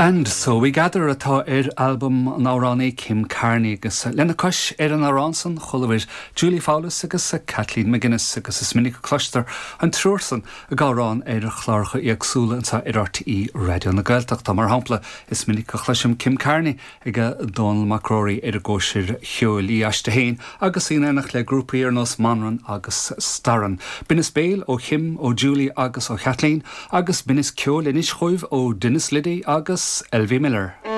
And So We Gather atá ar albam an amhránaí Kim Carney agus lena cois ar an amhrán san chualabhair Julie Fowlis agus Kathleen McGuinness agus is minic a cloistear an triúr san ag amhrán ar chláracha éagsúla anseo ar RTÉ Raidió na Gaeltachta. Mar shampla is minic a chloisim Kim Carney ag Dónall Mac Róraí ar an gcóisir cheoil, í aisti féin agus í in éineacht le grúpaí ar nós Manran agus Staran. Binneas béil ó Kim, ó Julie agus ó Chathleen agus binneas ceoil anois chugaibh ó Denis Liddy agus Elvie Miller.